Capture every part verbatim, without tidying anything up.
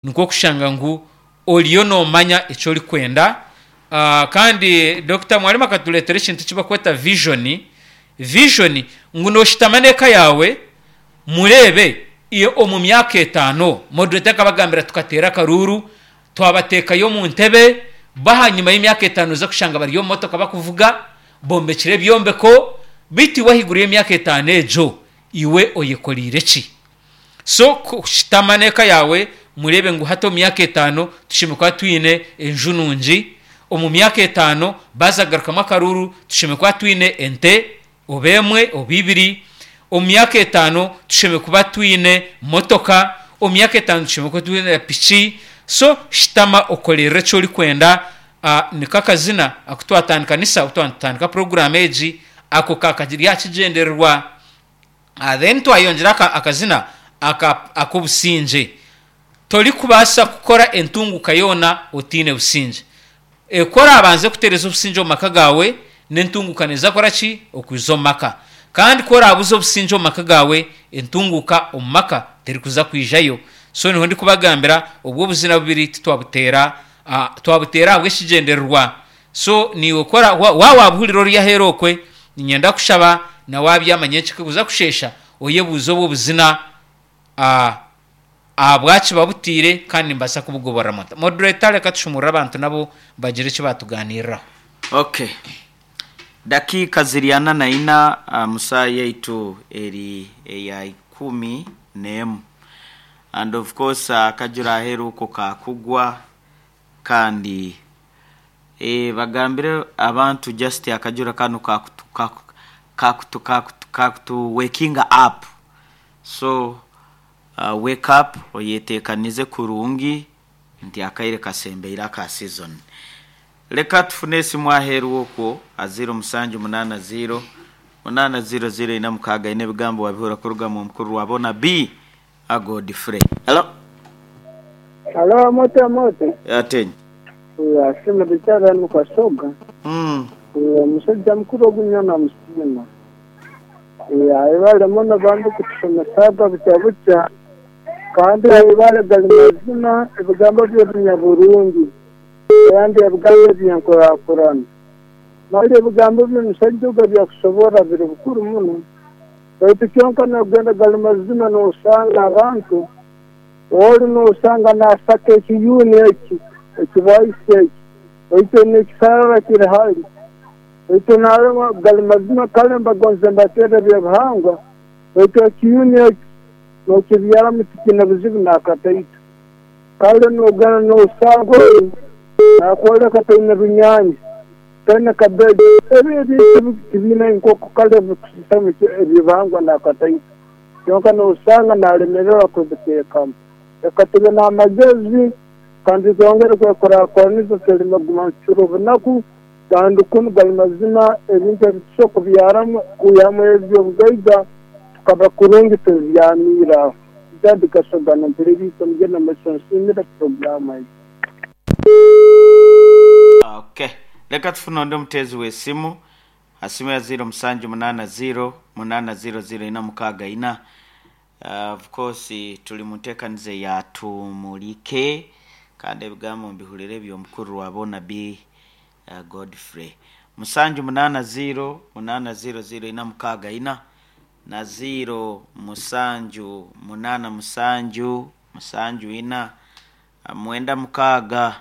Nikwo kushanga ngu oriyo noomanya eki orikwenda. Kandi Dokita Mwarimu akatureetera ekintu eki barikweta vision. Vision ngu nooshutama n'eka yaawe mureebe omu myaka etaano, moderator akabagambira tukateera akaruuru, twabateekayo omu ntebe, bo ahanyima y'emyaka etaano noija kushanga bari omu motoka barikuvuga, bombekire ebyombeko, beitu iwe ahaiguru y'emyaka etaano egyo, iwe oyekoreire ki? So kushutama n'eka yaawe mureebe ngu hati omu myaka etaano tushemereire kuba twine enju nungi, omu myaka etaano baaza kugarukamu akaruuru tushemereire kuba twine ente oba emwe oba ibiri, omu myaka etaano tushemereire kuba twine motoka, omu myaka etaano tushemereire kuba twine piki. So shutama okorerere eki orikwenda. Niko akazina aku twatandikanisa obu twaba nitutandika puroguraamu egi, ako kakagiri aha kigyendererwa. Then twayongyera akazina ak'obusingye. Torikubaasa kukora entunguka yoona otaine busingye. Ku oraabanze kutereeza obusingye omu maka gaawe, n'entunguuka neeza kukora ki? Okwija omu maka. Kandi ku oraabuze obusingye omu maka gaawe, entunguuka omu maka terikuza kwijayo. So niho ndikubagambira obwo obuzina bubiri titwabuteera twabuteera ahabw'ekigyendererwa. So naiwe ku ora waaba waabuhurira ori aheeru okwe, niinyenda kushaba na waabyama nyenkya kuza kusheesha, oyebuuze obwo obuzina ahabwaki babutaire kandi nimbaasa kubugoboreramu nta. Moderator reka tushumurure abantu nabo bagire eki baatugaaniiriraho. Okay. Dakiika ziri ana na ina mu saaha yaitu eri eya ikumi n'emu. And of course akajura aheeru okwo kaakugwa kandi eh, bagambire abantu just akajura kanu kakutu kaku kakutu kakutu kakutu wakinga up. So uh, wake up oyeteekanize kurungi nti akaire kasembeire aka season. Leka tufune esimu aheeru okwo a ziro musanju munaana ziro munaana ziro ziro ina mukaaga ina ebigambo wabihurira kuruga mu mukuru wa bona B a Godfrey. Hello. Halo, moto moto. Atenyi. Asema bicara mukasoga. Mm. Omusajja mukuru ogu namusiima. Ayebare muno bambi kutusomesa butya butya kandi ayebare gali mazima ebigambo bye binyaburungi kandi ebigambo byenkurakurana mali ebigambo by'omusajja ogu ebyakusobora biri bukuru muno baitu kyonka nogenda gali mazima nosanga abantu ori nosanga nasaka ekiyuni eki ekibwaisi eki baitu nekisarara kiri hali baitu narema gali mazima kale mbagonza mbateera ebyobuhangwa baitu ekiyuni eki nokibyaramu tikine buzibu nakataito kale nogenda nosanga oru nakwoleka taine runyaanya taine kabeegi ebi ebintu tibiine enkoko kale bikusisamu ebyobuhangwa nakataito kyonka nosanga nalemererwa kubiteekamu reka tube n'amagezi kandi twongere kwekurakuraniza tuleme kuguma nitucura obunaku kandi kunu gali mazima ebintu ebi tusobola kubyaramu kwihamu ebyobugaiga tukaba kurungi tubyamiire aho Dad Kasoga nampuliriisa mugenda maiso nsiimire puroguraamu egi. Okay. Leka tufune ondi omuteezi w'esimu asimu ya ziro musanju munaana ziro munaana ziro ziro ina mukaaga ina. Uh, of course tuli mu nteekaniza ya tumulike kandi ebigambo mbihurire eby'omukuru wa bona B uh, Godfrey. Musanju munaana ziro munaana ziro ziro ina mukaaga ina na ziro musanju munaana musanju musanju ina uh, mwenda mukaaga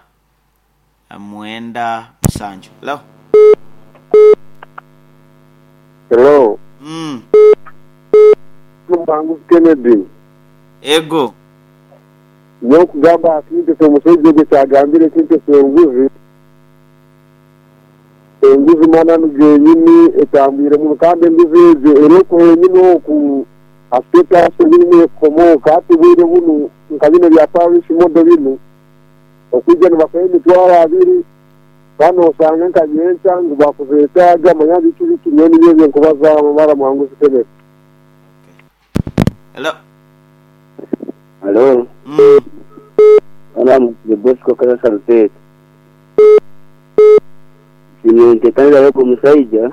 uh, mwenda musanju. Hello. Hello, Mm. Mubanguzi Kennedy. Ego. Nokugamba akintu omusajja ogwo kyagambire ekintu ekyenguzi. Enguzi mananu genyini etambwire muno kandi enguzi egyo eriko yenyini oku asitasi birimu ekomoka hati bwire bunu nka bino bya parish modo binu okwija nibakuha emitwaro abiri kandi osanga nka nyenkya ngu bakuzeetaaga manya biki biki nyowe nibyo ebyenkubazaho mara Muhanguzi Kennedy. Hello. Halo, Mm. ana the Bosco Kasa Salutete. Sinentekanira yogo omushaija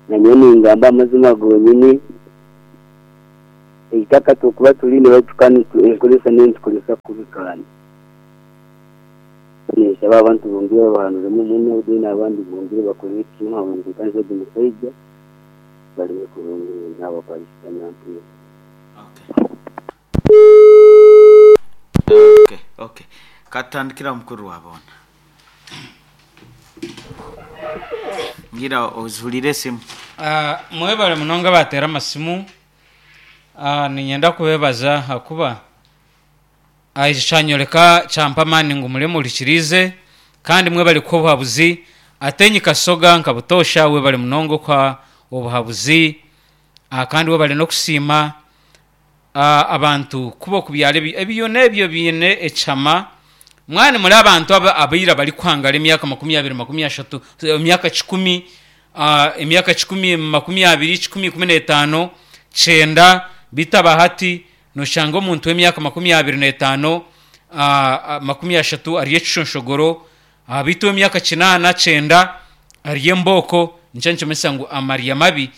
nanyowe ningamba amazima gonyini Eitaka tukuba tuline baitu kandi enkozesa nentukozesa kubi kandi. Nshaba abantu bongere bahanuremu muno then abandi bongere bakore ekimu abantu ogu musaija baleme kurungi n'abaparisita nyampira. Okay. Okay, okay. Katandikira mukuru wabona. Ngira ozulire esimu. Ah, mwebale munonga batera amasimu. Ah, ninyenda kubebaza hakuba ah, ekyo kyanyoreka kyampa amaani ngu mure murikirize kandi mwebale kuha obuhabuzi ate nyikasoga nka butosha webale munonga okuha obuhabuzi. Ah, kandi webale n'okusiima ah, abantu kuba okubyara ebi- ebiyuna ebyo biine ekihama mwani muri abantu aba- abaira barikuhangara emyaka makumi abiri, makumi ashatu, emyaka kikumi, ah, emyaka kikumi, makumi abiri, kikumi, ikumi n'etaano, kyenda bitaba hati noshanga omuntu w'emyaka makumi abiri n'etaano, ah, ah, makumi ashatu ari ekishonshogoro, ah, bitu emyaka kinaana kyenda ari embooko. Nikyo nikimanyisa ngu amarya mabi.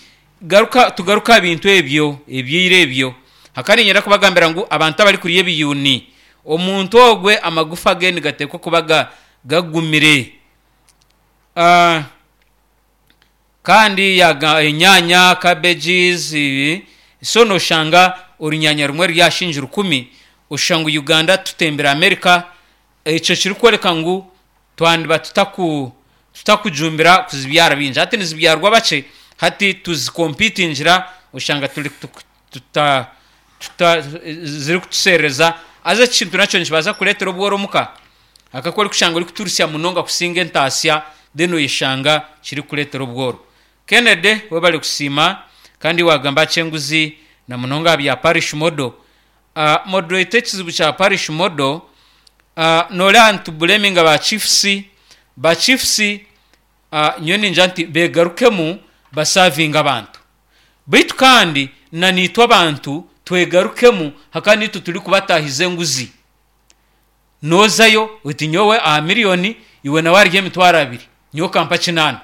Garuka tugaruka aha bintu ebyo ebyeire ebyo hakari nyenda kubagambira ngu abantu abari kurya ebiyuni omuntu ogwe amagufa ge nigateekwa kuba ga- gagumire. Ah, kandi yaga enyanya, cabbages ibi, so noshanga orunyanya rumwe ryashinja rukumi oshanga Uganda tutembera America. Ekyo kirikworeka ngu twandiba tutaku tutakujumbira kuzibyara bingi hati nizibyarwa bakye hati tuzikompitingira oshanga turi tuku- tuta tuta ziri kutusereza aza ekintu nakyo nikibaasa kureetera obworo omuka akako orikushanga orikuturusya munonga kusinga entasya then oyeshanga kirikureetera obworo. Kennedy webale kusiima kandi wagamba kyenguzi na munonga aha bya parish model. uh, moderator ekizibu kya parish model, uh, noreeba nitublaminga ba chiefs ba chiefs uh, nyowe ningira nti begarukemu basavinga abantu baitu kandi na niitwe abantu twegarukemu hakaba niitwe turi kubatahiza enguzi. Nozayo oti nyowe aha miliyoni iwe nawe arya emitwaro abiri nyowe kampa kinaana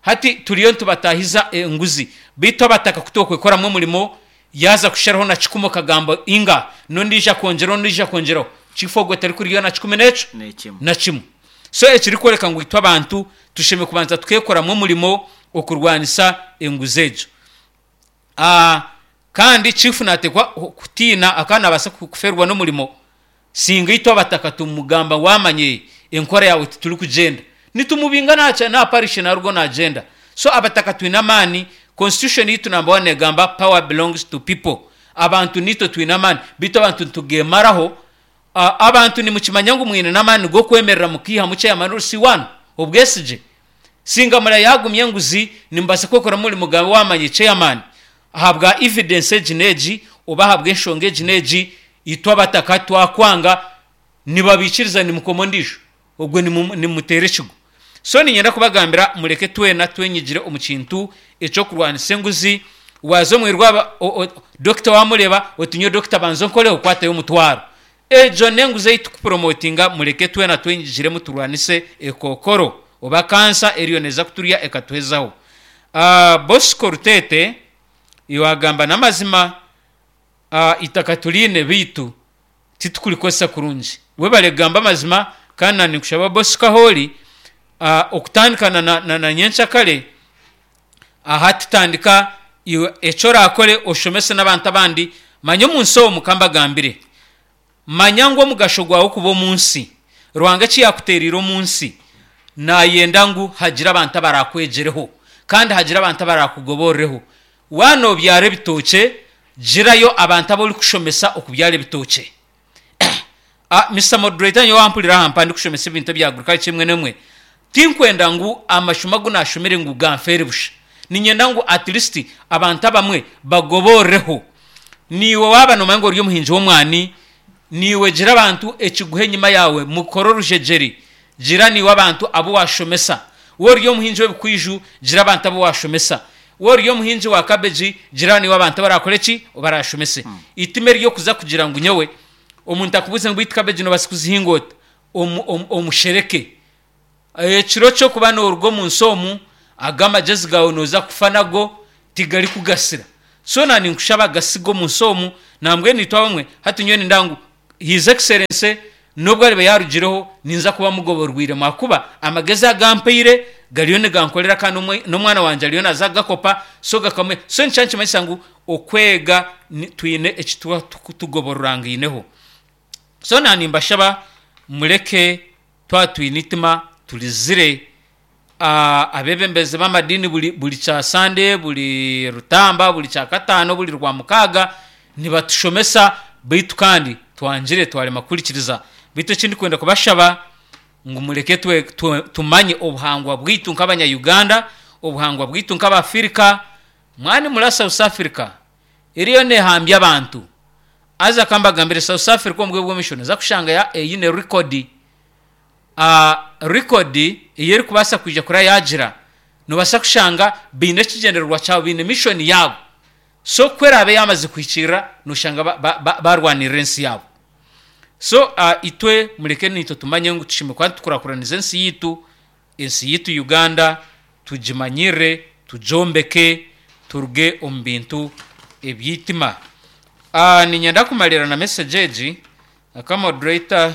hati turiyo nitubatahiza enguzi baitu abataka kutokwekoramu omurimo yaza kusharaho na kikumi okagamba inga nondiija kwongyeraho nondiija kwongyeraho chief ogwe tarikurya na kikumi n'ekyo N'ekimwe. na kimwe. So ekirikworeka ngu itwe abantu tushemeriire kubanza tukekoramu omurimo okurwanisa enguzi egyo. Ah, kandi chief natekwa kutiina akaba nabaasa kuferwa n'omurimo singa itwe abataka tumugamba wamanye enkora yawe tituri kugyenda nitumubinga nacha na parish narugo nagenda. So abataka twine amaani. Constitution yitu number one egamba power belongs to people. Abantu nitwe twine amaani bitu abantu nitugemaraho. Uh, abantu nimukimanya ngu mwine n'amaani g'okwemerera mukiihamu chairman si one obwesigye singa mura yagumye enguzi nimubasa kwekora muri mugabe wamanye chairman ahabwa evidence egi n'egi oba ahabwa enshonga egi n'egi itwe abataka twakwanga nibabikiriza nimukoma ondiijo ogwe nimu- nimuteera ekigo. So ninyenda kubagambira mureke twena twenyigire omu kintu ekyokurwanisa enguzi. Waza omwirwa dokita wamureba oti nyowe dokita banza onkoreho okwatayo omutwaro egyo n'enguzi ei tukupromotinga. Mureke twena twenyigiremu turwanise ekokoro oba kansa eriyo neeza kuturya ekatuhezaho. Uh, Bosco Rutete iwagamba n'amazima, uh, itaka tuline bitu titukulikozesa kurungi. Webale kugamba amazima kandi na nikushaba Bosco ahoori uh, okutandikana na, na, na nyenkyakare aha tutandika iwe ekyo orakore oshomese n'abantu abandi. Manya omunsi omu kambagambire manya ngu omugasho gwawe kuba omunsi Ruhanga eki yakuteerire omunsi nayenda ngu hagire abantu abarakwegyereho kandi hagire abantu abarakugoborereho. Waana obyara ebitookye girayo abantu abu orikushomesa okubyara ebitookye. Ah, Mister Moderator, nyowe wampurira aha mpa ndikushomesa ebintu ebya agriculture emwe n'emwe tinkwenda ngu amashomo agu nashomere ngu ganfeere busha. Ninyenda ngu at least abantu abamwe bagoborereho. Niiwe waaba nomanya ngu ori omuhingi w'omwani niiwe gira abantu ekiguha enyima yawe mukore orujegyere gira niiwe abantu abu washomesa. We ori omuhingi w'ebikwiju gira abantu abu washomesa. We ori omuhingi wa cabbage gira niiwe abantu abarakora eki obarashomese. Itime eryokuza kugira ngu nyowe omuntu akubuuze ngu beitu cabbage nobaasa kuzihinga ota omu- omu- omushereke ekiro kyokuba noruga omunsi omu aga amagezi gawe noza kufa nago tigarikugasira. So na ninkushaba gasiga omunsi omu nambwenu itwe abamwe hati nyowe ninda ngu His Excellency nobwo ariba yarugireho, ninza kuba mugoborwiremu ahakuba amagezi agampaire gariyo nigankorera kandi n'omwana wangye ariyo naza kugakopa, so gakamwe. So nikyo nikimanyisa ngu okwega twine eki tugobororangaineho. So na nimbashaba mureke twaba twine eitima turizire. Abeebembezi b'amadiini buri buri kya Sande, buri Rutamba, buri Kyakataano, buri Rwamukaaga nibatushomesa beitu kandi twangire twarema kuhurikiriza. Beitu eki ndikwenda kubashaba ngu mureke tumanye obuhangwa bwaitu nk'abanya-Uganda, obuhangwa bwaitu nk'Abafirika. Mwani muri South Africa eriyo neehambya abantu. Haza ka mbagambire, South Africa omu bwire bw'omumaisho nooza kushanga eine rekodi. Rekodi ei erikubaasa kwija kura yaagira, noobaasa kushanga baine ekigyendererwa kyabo, baine mishoni yaabo. So ku eraabe yaamazire kuhikiirira, nooshanga baarwanirira ensi yaabo. So itwe mureke naitwe tumanye ngu tushemereire kuba nitukurakuraniza ensi yaitu, ensi yaitu Uganda tugimanyirire, tugyombeke, turuge omu bintu eby'eitima. Niinyenda kumariira na mesegi egi, aka moderator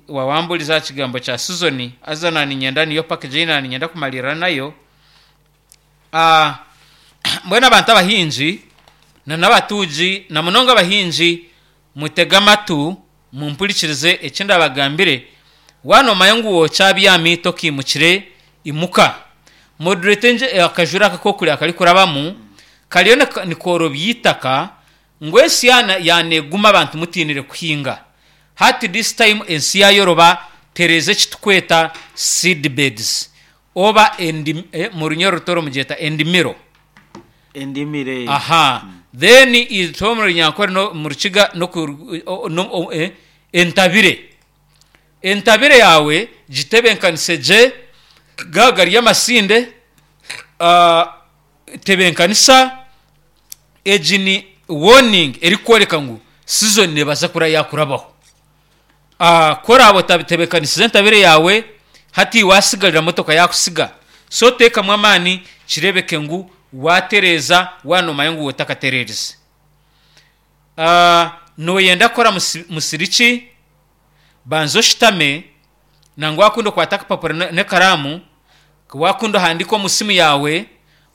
waawamburiza aha kigambo kya sizoni, haza naaniinyenda niyo package ei naaniinyenda kumariira nayo. Mbwenu abantu abahingi n'abatuugi na munonga abahingi, mutege amatu mumpurikirize eki ndabagambire. Waaba noomanya ngu okyabyami tokiimukire, imuka. Moderator akajura aka ak'okureba akarikurabamu kariyo nikoorobya eitaka ngu ensi yaaneeguma abantu mutiinire kuhinga. Hati this time ensi yaayoroba, tereeza eki turikweta seed beds oba omu runya orutooro mugyeta endimiro. Endimiro. Aha. Then itwe omu Runyankore n'omu Rukiga entabire. Entabire yaawe gitebeekanise gye, gaaba gari amasinde, tebeekanisa. Egi ni warning erikworeka ngu sizoni neebaasa kuba yaakurabaho. Ku oraabe otatebeekanisize entabire yaawe, hati waasigarira motoka yaakusiga. So teekamu amaani kireebeke ngu waatereeza waaba noomanya ngu otakatereerize. Nooyenda kukora musiri ki? Banza oshutame, nangwa waakunda okwate akapapura n'ekaraamu, waakunda ohandiike omu simu yaawe,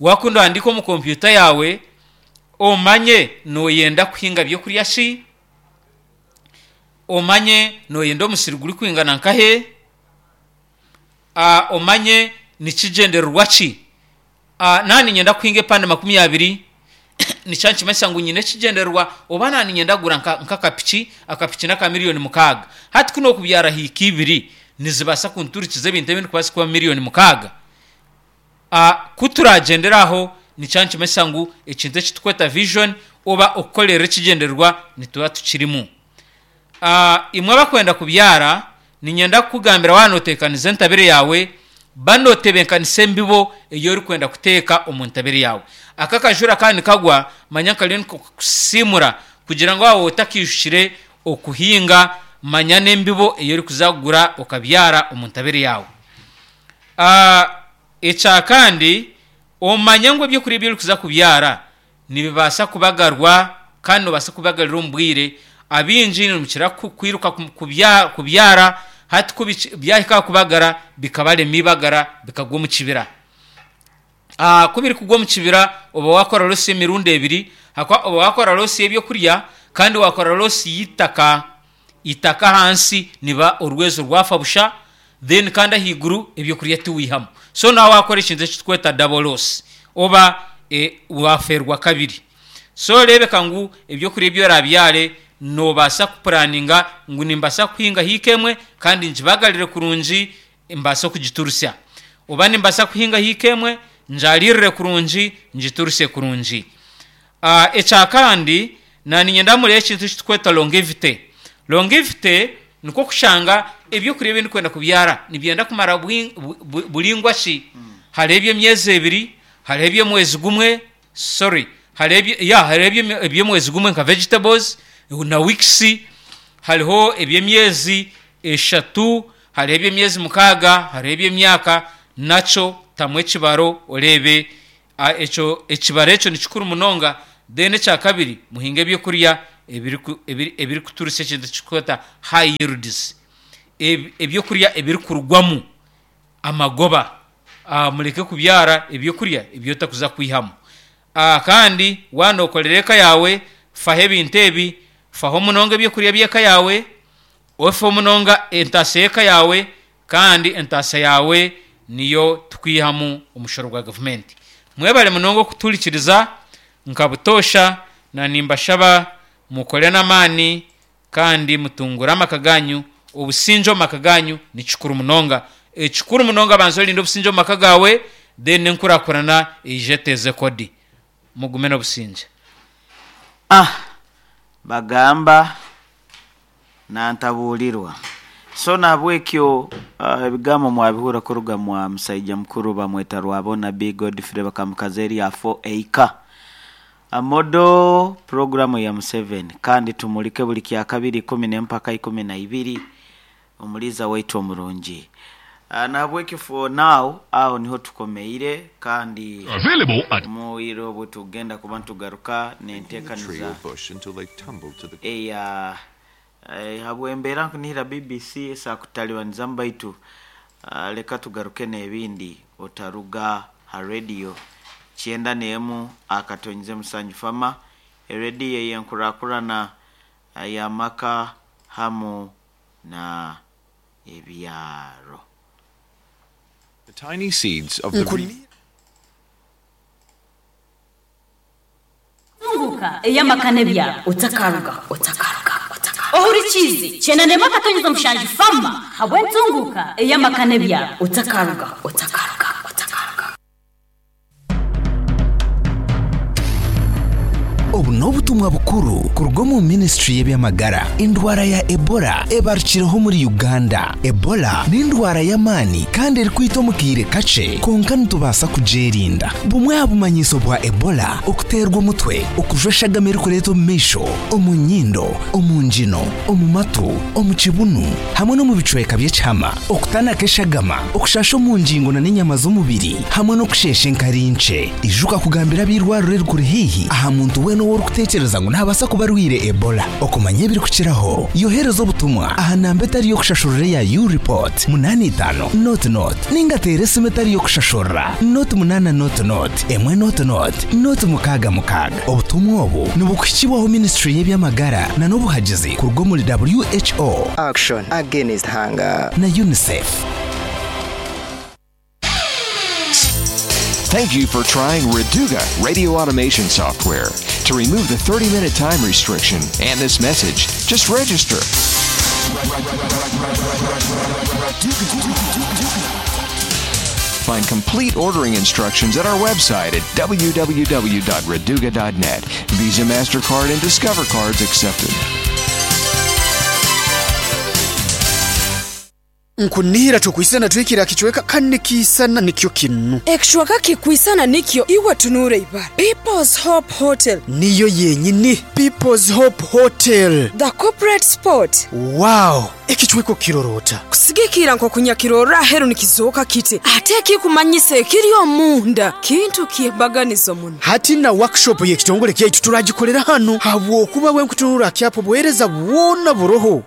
waakunda ohandiike omu kompyuta yaawe, omanye nooyenda kuhinga byokurya ki, omanye nooyenda omusiri gurikwingana nkahe, omanye nikigyendererwa ki. Naaba niinyenda kuhinga epande makumi abiri, nikyo nikimanyisa ngu nyine ekigyendererwa oba naaba niinyenda kugura nk'akapiki, akapiki n'aka miriyoni mukaaga. Hati ku nookubyara hiika ibiri, nizibaasa kunturikiza ebintu ebi ndikubaasa kuha miriyoni mukaaga. Ku turagyendere aho, nikyo nikimanyisa ngu ekintu eki turikweta vision oba okukorera ekigyendererwa nituba tukirimu. Imwe abarikwenda kubyara, niinyenda kukugambira waaba nootebeekanisa entabire yaawe, ba nootebeekanisa embibo ei orikwenda kuteeka omu ntabire yaawe. Aka akajura kaaba nikagwa, manya kariyo nikakusiimura kugira ngu waaba otakiijukire okuhinga, manya n'embibo ei orikuza kugura okabyara omu ntabire yaawe. Ekya kandi, omanye ngu ebyokurya ebi orikuza kubyara nibibaasa kubagarwa kandi noobaasa kubibagarira omu bwire. Abaingi nimukira kwiruka kubyara, hati ku byahika aha kubagara bikabarema eibagara bikagwa omu kibira. Ku birikugwa omu kibira oba waakora losi emirundi ebiri ahakuba oba waakora losi y'ebyokurya kandi waakora losi y'eitaka. Eitaka ahansi niba orwezo rwafa busha then kandi ahaiguru ebyokurya tiwihamu. So naaba waakora ekintu eki turikweta double loss oba waafeerwa kabiri. So reebeka ngu ebyokurya ebi oraabyare noobaasa kupuraninga ngu nimbaasa kuhinga hiika emwe kandi ngibagarire kurungi mbaase kugiturusya. Oba nimbaasa kuhinga hiika emwe ngyariirire kurungi ngiturusye kurungi. Ekya kandi, naaniinyenda mureebe ekintu eki turikweta longevity. Longevity nikwo kushanga ebyokurya ebi ndikwenda kubyara nibyenda kumara buringwa ki? Hariho eby'emyezi ebiri, hariho eby'omwezi gumwe, sorry, hariho ya hariho eby'omwezi gumwe nka vegetables na weeks, hariho eby'emyezi eshatu, hariho eby'emyezi mukaaga, hariho eby'emyaka, nakyo tamu ekibaro oreebe ekyo ekibaro ekyo ni kikuru munonga. Then ekyakabiri, muhinge ebyokurya ebiriku- ebiri- ebirikuturisa ekintu ekikweta high yields, Ebi- ebyokurya ebirikurugwamu amagoba. Ah, mureke kubyara ebyokurya ebyotakuza kwihamu. Ah, kandi waanokorera eka yaawe, faho ebintu ebi, faho munonga ebyokurya by'eka yaawe, ofeho munonga entaasa y'eka yaawe, kandi entaasa yaawe niyo tukwihamu omushoro gwa gavumenti. Mwebale munonga okutuhurikiriza nka butoosha, na nimbashaba mukore n'amaani kandi mutungure amaka ganyu. Obusingye omu maka ganyu ni kikuru munonga. Ekikuru munonga, banza orinde obusingye omu maka gaawe, then enkurakurana eije eteeze kodi. Mugume n'obusingye. Ah, bagamba nantabuulirwa. So nahabwekyo uh, ebigambo mwabihura kuruga mwa musaija mukuru bamweta Rwabona B Godfrey, bakamukaza erya four Acre amodo programu ya Museveni. Kandi tumulike buli kya kabiri ikumi n'empaka ikumi na ibiri, omuliza waitu omurungi. Uh, nahabwekyo for now aho niho tukomeire, kandi Available at muwire obwe tugenda kuba ntugaruka tree nenteekaniza or bush until they tumbled to the eya eh, habwembeera nkunihira B B C esakutalibanizamu, baitu uh, leka tugaruke n'ebindi. Otaruga ha radio kyenda n'emu akatonyize musanju fama, erediyo eyenkurakurana y'amaka hamu na ebyaro. The tiny seeds of the Nkuni Tunguka ey'amaka n'ebyaro, otakaruga, otakaruga, otakaruga. Ohurikize kyenda n'emwe akatonyeza mushanju fama habwe ntunguka ey'amaka n'ebyaro, otakaruga, otakaruga, otakaruga. Obu n'obutumwa bukuru kuruga omu minisitule y'ebyamagara. Endwara ya Ebola ebarukireho muri Uganda. Ebola n'endwara y'amaani kandi erikwita omu kaire kakye, konka nitubaasa kugyerinda. Bumwe aha bumanyiso bwa Ebola: okuteerwa omutwe, okujwa eshagama erikureeta omu maisho, omu nyindo, omu ngino, omu matu, omu kibunu hamwe n'omu bicweka by'ekihama, okutanaka eshagama, okushasha omu ngingo na n'enyama z'omubiri, hamwe n'okusheesha enkari nkye. Ijuka kugambira ab'eirwariro erikuri haihi aha muntu weena ou orikuteekereza ngu naabaasa kuba arwaire Ebola. Okumanya ebirikukiraho, yohereza obutumwa aha namba etari y'okushashurira eya U-report munaana itaano nought nought, ninga teera esimu etari y'okushashurira nought munaana nought nought emwe nought nought nought mukaaga mukaaga. Obutumwa obu nibukuhikibwaho minisitule y'ebyamagara na n'obuhagizi kuruga omuri W H O, Action Against Hunger na UNICEF. Thank you for trying Reduga radio automation software. To remove the thirty minute time restriction and this message, just register. Find complete ordering instructions at our website at w w w dot reduga dot net. Visa, MasterCard, and Discover cards accepted. Nkunihira tukwisana twikira kichweka kane kisana nikyo kinu. Ekishwaka kikwisana nikyo, iwe tunuure ibara People's Hope Hotel. Niyo yenyini, People's Hope Hotel, the corporate spot. Wow, ekichweko kirorota. Kusigikira nk'okunyakirorra aheru nikizooka kiti, ate ekikumanyisa ekiri omunda kintu kyembaganizo muno. Hati na workshop y'ekitongole kyaitu turagikolera hano, habwokuba bwenkutunura kyapo buheereza bwona buroho.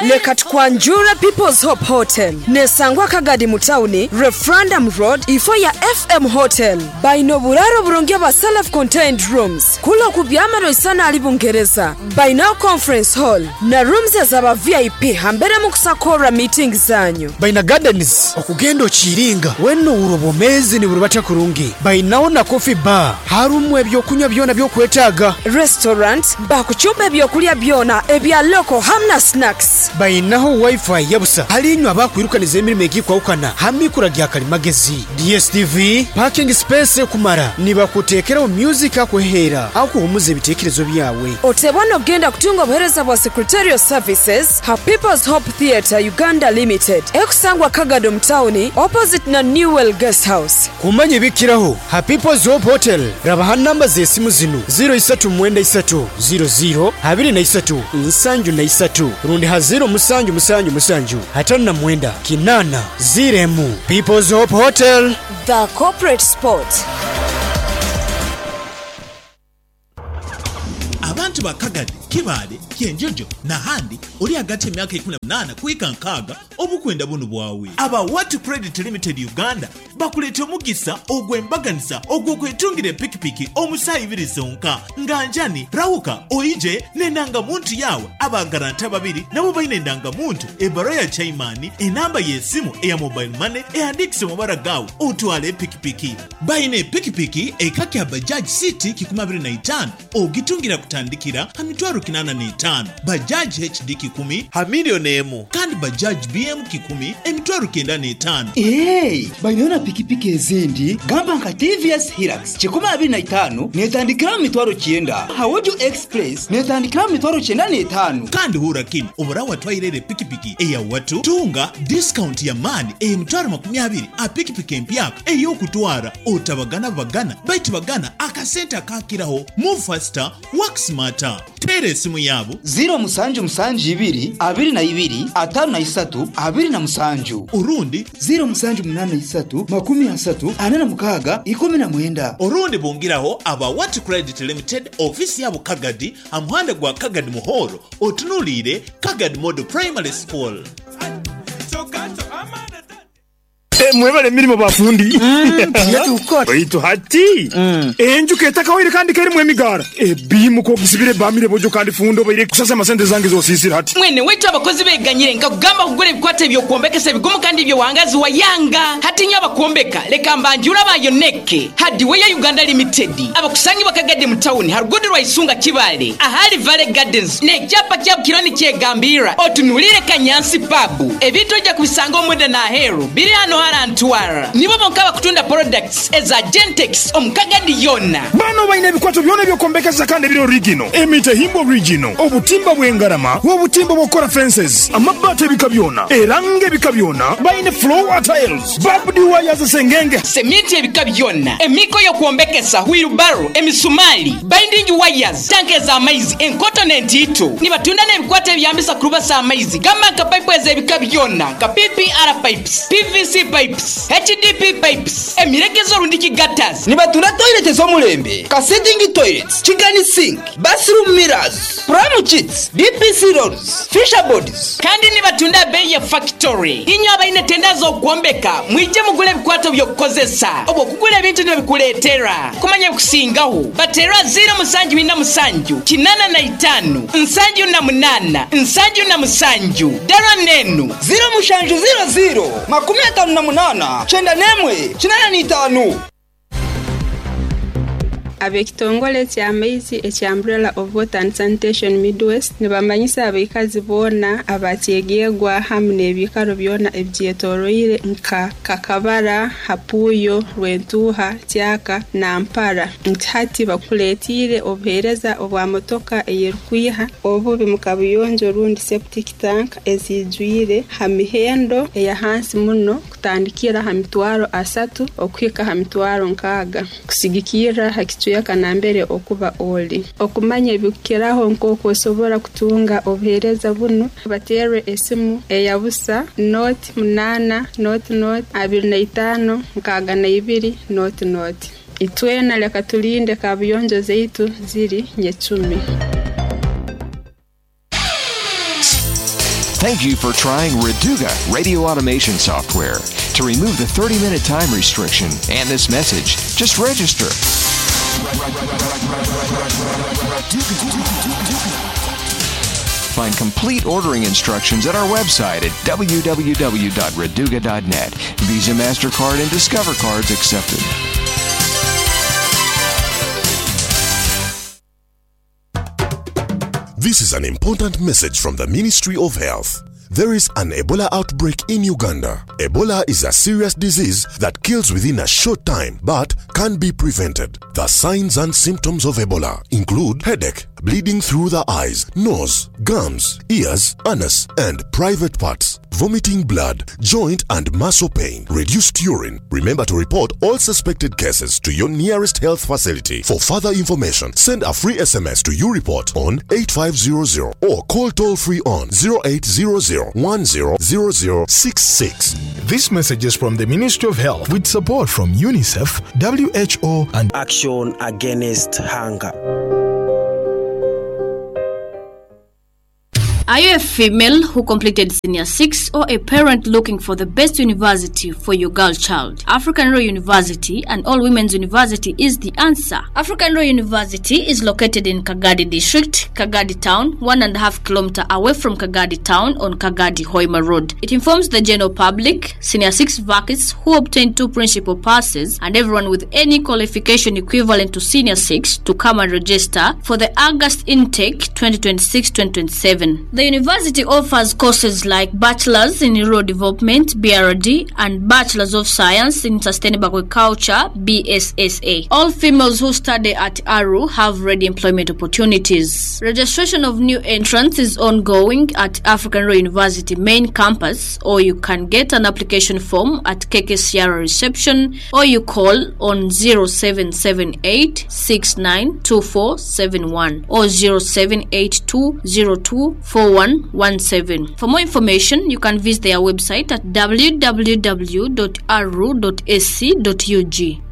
Leka tukwanjure People's Hope Hotel, nesangwa Kagadi mu tawuni, Referendum Road, ifo ya F M Hotel. Baina oburaro burungi bwa self contained rooms kula okubyamaro isana ali Bungereza. Bainaho conference hall na rooms ezaba V I P hambere mu kusakora meeting zanyu. Baina gardens okugenda okiringa wena owura obwomezi niburubata kurungi. Bainaho na coffee bar, harumu ebyokunywa byona byokwetaaga. Restaurant bakucumba ebyokulya byona ebya local hamwe na snacks. Bainaho wifi yabusa halinywa abakwirukaniza emirimo egikwawukana hamikura gya kalimagezi, D S T V, parking space ekumara, nibakuteekeraho music akuheera akuhumuza ebiteekerezo byawe. Otebwa ogenda kutunga obuheereza bwa secretarial services ha People's Hope Theatre Uganda Limited, ekusangwa Kagado mu tawuni, opposite na Newell Guest House. Kumanya ebikiraho ha People's Hope Hotel, rabaha namba z'esimu zinu ziro isatu mwenda isatu ziro ziro abiri na isatu nsanju na isatu, rundi ha ziro musanju musanju musanju atano na mwenda kinaana ziro emu. People's Hope Hotel, the corporate spot. Abantu ba Kagadi, Kibaale, Kyenjojo n'ahandi oli hagati y'emyaka ikumi na munaana kuhika nkaaga obukwenda bunu bwawe. Aba Watu Credit Limited Uganda bakuleeta omugisa ogw'embaganiza ogw'okwetungira epikipiki omu saaha ibiri zonka. Nga njani rahuka oije n'endangamuntu yawe, abagaranta babiri nabo baine endangamuntu, ebbaruwa ya chaimani, enamba y'esimu eya mobile money ehandiikise mu mabara gawe otwale epikipiki. Baine epikipiki eka kya Bajaj C T kikumi abiri na itaano ogitungira kutandikira ha mitwaro kinaana n'etaano, Bajaj H D kikumi ha miliyoni emu kandi Bajaj B M kikumi emitwaro kyenda n'etaano. Eee, baineyo na pikipiki ezindi gamba nka T V S Hilux kikumi abiri na itaano netandikira mu mitwaro kyenda, Hawojo Express netandikira mu mitwaro kyenda n'etaano. Kandi hura kinu, obura watwaire epikipiki eya Watu tunga discount ya maani emitwaro makumi abiri a pikipiki empyaka ey'okutwara. Otabagana bagana baitu bagana akasente akakiraho. Move faster, work smarter. Teera esimu yaabo ziro musanju musanju ibiri abiri na ibiri atano na isatu abiri na musanju, orundi ziro musanju munana isatu makumi asatu ana na mukaaga ikumi na mwenda. Orundi bungiraho aba Watu Credit Limited, ofisi yabo Kagadi, amuhanda gwa Kagadi Muhoro, otunuliire Kagadi Model Primary School. Mwebale emirimu bafundi, baitu hati enjuka etakawaire kandi kerimu emigara ebimuka ogisibire bamire bojo kandi fundo baire kusasa amasente zange zosisira hati. Mwene wetu, abakozi beganyire nkakugamba kugura ebikwata ebyokwombekesa ebigumu kandi ebyowangazi wayanga. Hati nyo abakwombeka, leka mbanjura bayoneke Hardware Uganda Limited, abakusangibwa Kagadi mu tawuni harugudu rwa Isunga Kibale ahali Valley Gardens n'ekyapa kyabo kironi kyegambira otunulire Kanyansi Pub. Ebintu ojja kubisanga omunda n'aheeru biri hano harantwara. Nibo bonka bakutunda products eza Gentex omu Kagadi yonna. Bano balina ebikwato byona ebyokwombekereza kandi ebiri original, emitahimbwa original, obutimba bw'engarama, obutimba bw'okukola fences, amabaati ebika byona, eranga ebika byona, balina floor tiles, barbed wires, sengenge, seminti ebika byonna, emiko y'okwombekesa, wheelbarrow, emisumali, binding wires, tanke ez'amaizi enkoto n'entiito. Nibatunda n'ebikwata ebyambisa kurubasa amaizi gamba nka pipe ez'ebika byonna nka P P R pipes, P V C pipes, H D P pipes, emiregezo rundiki gutters. Nibatunda toilet ez'omulembe ka sitting toilets, kitchen sink, bathroom mirrors, pram kits, D P C rolls, fascia boards. Kandi nibatunda bei ya factory. Inyo abaine tenda z'okwombeka, mwije mugule ebikwato by'okukozesa obwo okugula ebintu nibikuleetera kumanya ebikusingaho. Batera ziro musanju bina musanju kinana na itaano nsanju na munana nsanju na musanju dara nenu ziro mushanju ziro ziro makumi atano na munana kyenda n'emwe kinana n'itaano. Ab'ekitongole ky'amaizi ekya Umbrella of Water and Sanitation Midwest nibamanyisa abaikazi boona abakyegyegwa hamwe n'ebiikaro byona ebigyetoroire nka Kakabara, Hapuyo, Rwentuha, Kyaka na Mpara nti hati bakuleetiire obuheereza obwa motoka eyerikwiha obubi mu kabuyonjo rundi septic tank ezijwire ha mihendo eyahansi muno, kutandikira ha mitwaro asatu okuhika ha mitwaro nkaaga, kusigikirra ha kicweka nambere okuba oli. Okumanya ebikukiraho nk'oku osobora kutunga obuheereza bunu, bateerwe esimu eya busa nought munaana nought nought abiri na itaano nkaaga na ibiri nought nought. Itwena leka tulinde kabuyonjo zaitu ziri nyecumi. Thank you for trying Reduga Radio Automation Software. To remove the thirty minute time restriction and this message, just register. Find complete ordering instructions at our website at w w w dot reduga dot net. Visa, MasterCard, and Discover cards accepted. This is an important message from the Ministry of Health. There is an Ebola outbreak in Uganda. Ebola is a serious disease that kills within a short time but can be prevented. The signs and symptoms of Ebola include headache, bleeding through the eyes, nose, gums, ears, anus, and private parts, vomiting blood, joint and muscle pain, reduced urine. Remember to report all suspected cases to your nearest health facility. For further information, send a free S M S to YouReport on eight five zero zero or call toll free on zero eight zero zero one zero zero zero six six. This message is from the Ministry of Health with support from UNICEF, W H O, and Action Against Hunger. Are you a female who completed senior six or a parent looking for the best university for your girl child? African Royal University and All Women's University is the answer. African Royal University is located in Kagadi District, Kagadi Town, one and a half kilometer away from Kagadi Town on Kagadi Hoima Road. It informs the general public, senior six vacancies who obtained two principal passes, and everyone with any qualification equivalent to senior six to come and register for the August intake twenty twenty-six twenty twenty-seven. The university offers courses like Bachelor's in Rural Development B R D and Bachelor's of Science in Sustainable Agriculture B S S A. All females who study at A R U have ready employment opportunities. Registration of new entrants is ongoing at African Royal University main campus, or you can get an application form at K K C R reception, or you call on zero seven seven eight six nine two four seven one or zero seven eight two zero two four one one seven. For more information, you can visit their website at w w w dot a r u dot a c dot u g.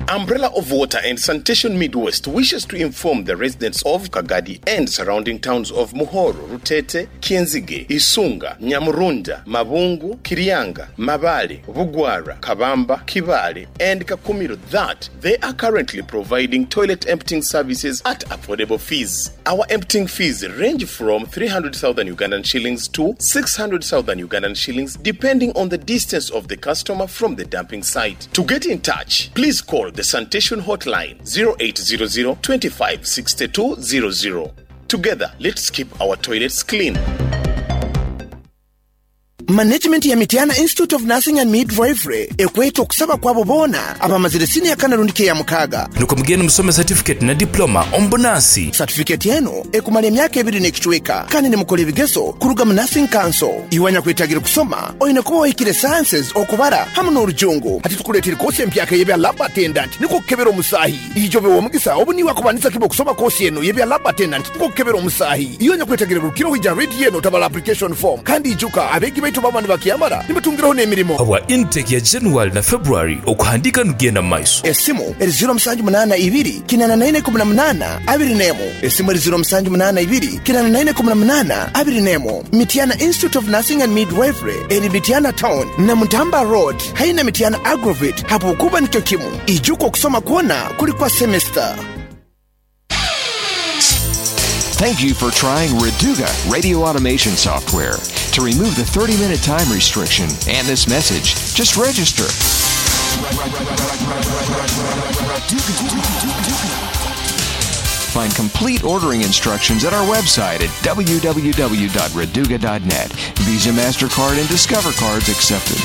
Umbrella of Water and Sanitation Midwest wishes to inform the residents of Kagadi and surrounding towns of Muhoro, Rutete, Kienzige, Isunga, Nyamurunda, Mabungu, Kirianga, Mabale, Bugwara, Kabamba, Kibale, and Kakumiro that they are currently providing toilet emptying services at affordable fees. Our emptying fees range from three hundred thousand Ugandan shillings to six hundred thousand Ugandan shillings depending on the distance of the customer from the dumping site. To get in touch, please call the sanitation hotline zero eight zero zero, two five six two zero zero. Together, let's keep our toilets clean. Management ya Mitiana Institute of Nursing and Midwifery ekweta okusaba kwabo boona abamazire senior kana rundi ke ya mukaga nuko mugende musome certificate na diploma ombonasi certificate yenu ekumala emyaka ebiri n'ekicweka kandi nimukora ebigezo kuruga mu Nursing Council. Iwanya kwetagira kusoma oyine kuba wahikire sciences okubara hamwe n'orujungu. Hati tukuleetera kosi empyaka y'ebya lab attendant niko kukebera omusaahi. Ijobe w'omugisa obu niwe akubanisa kiba okusoma kosi eno y'ebya lab attendant niko kukebera omusaahi. Iwanya kwetagira rukiro hija redi eno tabala application form kandi ijuka abegi baitu baba nibakiyamara nibatungiraho n'emirimo. Habwa intake ya January na February okuhandika nugenda mu maiso. Esimu eri zero musanju munana ibiri kinana naine kumi na munana abiri n'emu. Esimu eri zero musanju munana ibiri kinana naine kumi na munana abiri n'emu. Mitiana Institute of Nursing and Midwifery eri Mitiana Town na Mutamba Road haina Mitiana Agrovet hapo kuba nikyo kimu. Ijuko kusoma kuona kuli kwa semester. Thank you for trying Reduga radio automation software. To remove the thirty-minute time restriction and this message, just register. Find complete ordering instructions at our website at w w w dot reduga dot net. Visa, MasterCard, and Discover cards accepted.